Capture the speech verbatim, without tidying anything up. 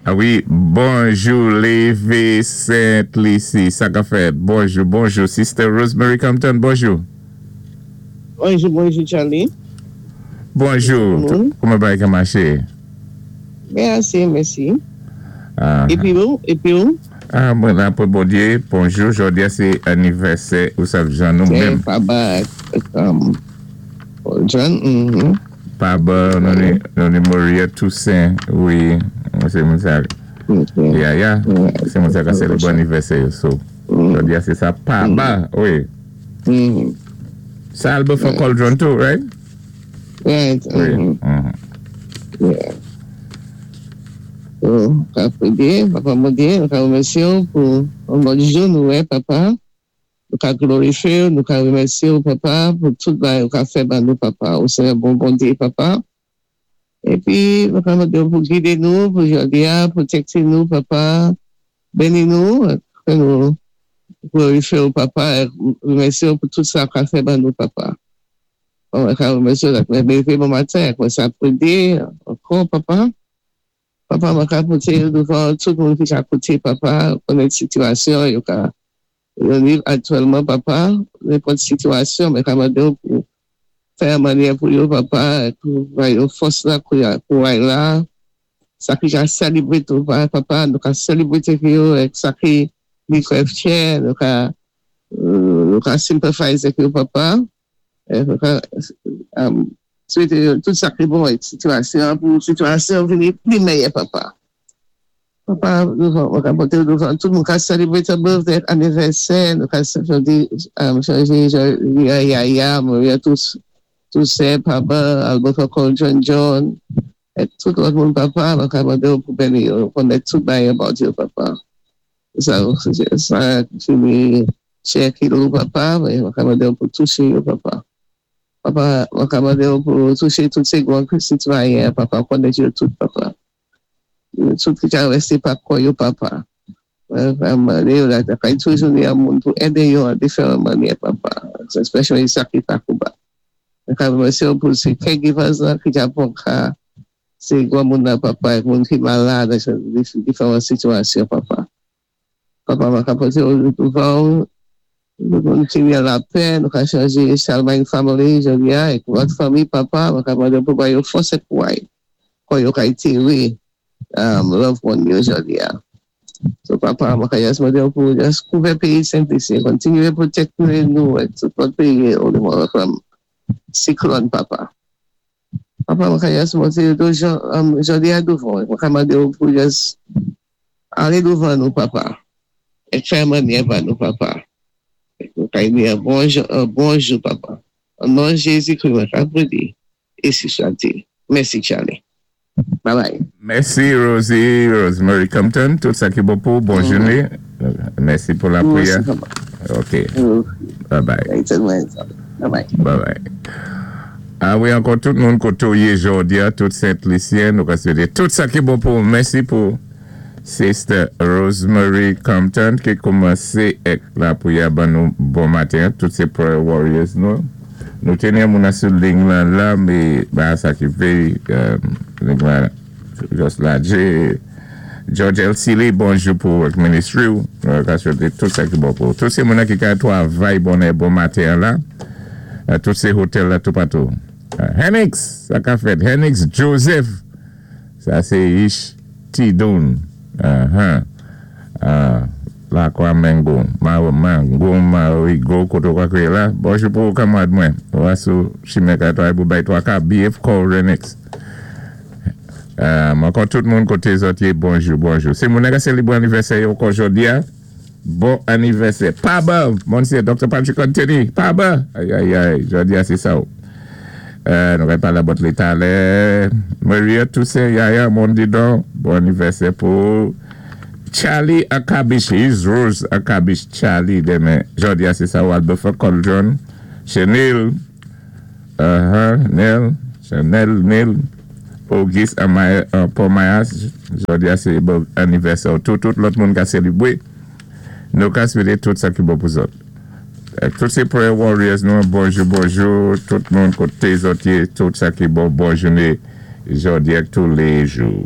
Ah wi, bonjou, Lévé Sainte-Lucie, sa ka fèt. Bonjou, bonjou, Sister Rosemary Compton, bonjou. Bonjou, bonjou, Charlie. Bonjou, kouman bagay ka maché? Mèsi, mèsi. Épi ou, épi ou? Ah, bon, apwé Bondyé, bonjou, jòdi-a sé anivèsè, ou sav jan nou menm. Papa, John, mhm. Papa, nou ni Maria Toussaint, wi, sé moun sa. Ya, ya, sé moun sa ka sélébwé anivèsè yo, so. Jòdi-a sé sa, Papa, wi. Sa Albertha Cauldron tou, right? Right. Wi. Yeah. So, ka pwédé, Papa Bondyé, nou ka wémèsyé ou pou yon lòt jou nou wè, Papa. Nou ka glorifyé ou, nou ka wémèsyé ou, Papa, pou tout bagay ou ka fè ban nou, Papa. Ou sé yon bon Bondyé, Papa. Épi, nou ka mandé ou pou gidé nou, pou jòdi-a, pwotékté nou, Papa. Béni nou, fè nou glorifyé ou, Papa, wémèsyé ou pou tout sa ou ka fè ban nou, Papa. Mwen ka wémèsyé ou, mwen lévé bon maten, mwen sa pwédé, ankò, Papa. Papa, mwen ka poté douvan tout moun ki ka koté, Papa, konnen sitiyasyon, yo ka yo viv aktyèlman, Papa, nenpòt sitiyasyon, mwen ka mandé ou pou fè yon mannyè pou yo, Papa, pou bay yo fòs la, kouway la, sa ki ka sélébwé tou, Papa, nou ka sélébwé avèk yo, èk sa ki li krèvkè, nou ka nou ka sympathize avèk yo, Papa, nou ka swété tout sa ki bon èk sitiyasyon, pou sitiyasyon vini pli mèyè, Papa. Papa, nou ka poté douvan tout moun ka sélébwé ta birthday, anivèsè, nou ka chanje Yaya, Maria Toussaint, Papa, Alberto Cauldron, John, èk tout lòt moun, Papa, mwen ka mandé ou pou béni yo, konnen tout bagay about yo, Papa. Sa, sa, fini, chè kilo, Papa, mwen ka mandé ou pou touché yo, Papa. Papa, mwen ka mandé ou pou touché tout sé gwan sitwayen, Papa, konnen yo tout, Papa. Tout ki ka wè sé pa kò yo, Papa. Mwen ka mandé ou la, kay toujou ni yon moun pou édé yo an diferan mannyè, Papa. Especially sa ki pa kouba. Mwen ka remèsyé ou pou sé caregivers la, ki ka pran ka sé gwan moun nan, Papa, moun ki malad, diferan sitiyasyon, Papa. Papa, mwen ka poté ou douvan, nou moun ki ni lapè, nou ka chanje Charlemagne family, jòdi-a, èk lòt fanmi, Papa, mwen ka mandé pou bay yo fòs èk kouway, kon yo ka antéwé loved one yo jòdi-a. So, Papa, mwen ka jis mandé ou pou jis kouvè péyi Sent-Lisi, kontinyé pwotékté nou, èk tout lòt péyi, ou from siklòn, Papa. Papa, mwen ka jis mandé ou jòdi-a douvan, mwen ka mandé ou pou jis alé douvan nou, Papa. Èk fè mannyè pa nou, Papa. Nou ka ni yon bon jou, bon jou, Papa. An non Jésus-Christ, mwen ka pwédé, ési swat-il. Mèsi, Charlie. Bye bye. Mèsi, Rosie, Rosemary Compton, tout sa ki bon pou, bon jouné. Mèsi pou lapwiyè. Ok. Bye bye. Bye bye. Bye bye. Ah wi, ankò tout moun koté ou yé jòdi-a, tout Sent-Lisyen, nou ka swété tout sa ki bon pou, mèsi pou Sister Rosemary Compton ki koumansé èk lapwiyè ban nou bon maten, tout sé prayer warriors nou. Nou téni moun sou liy lan la, mé ba sa ki fè, liy lan jis lajé. George L. Seeley, bonjou pou work ministry ou. Nou ka swété tout sa ki bon pou. Tout sé moun ki ka twavay bonè bon maten la. Tout sé hotel la tout patou. Henix, sa ka fèt. Henix Joseph, sa sé Ish Tidon. La kwa Mango, Mango, Marigo, koto kwa kwe la. Bonjou pou kanmwad mwen. Wasou chimè ka tway pou bay twa ka B F Call Renix. Mwen tout moun koté zòt yé, bonjou, bonjou. Sé moun ka sélébwé anivèsè yo kon jòdi-a. Bon anivèsè. Paba, Monsieur Docteur Patrick Anthony. Paba. Ay, ay, ay, jòdi-a sé sa ou. Nou ka palé about lé talè. Maria Toussaint, Yaya, Mondidon. Bon anivèsè pou Charlie Akabish, his Rose Akabish, Charlie, demen. Jòdi-a sé sa ou, Albertha Cauldron. Chanel, uh-huh, Nel, Chanel, Nel. Auguste Paul Mayas, jòdi-a sé bon anivèsè. Tout, tout lòt moun ka sélébwé. Nou ka swété tout sa ki bon pou zòt. Tout sé prayer warriors nou, bonjou, bonjou, tout moun koté zòt yé, tout sa ki bon, bon jouné, jòdi-a tous les jours.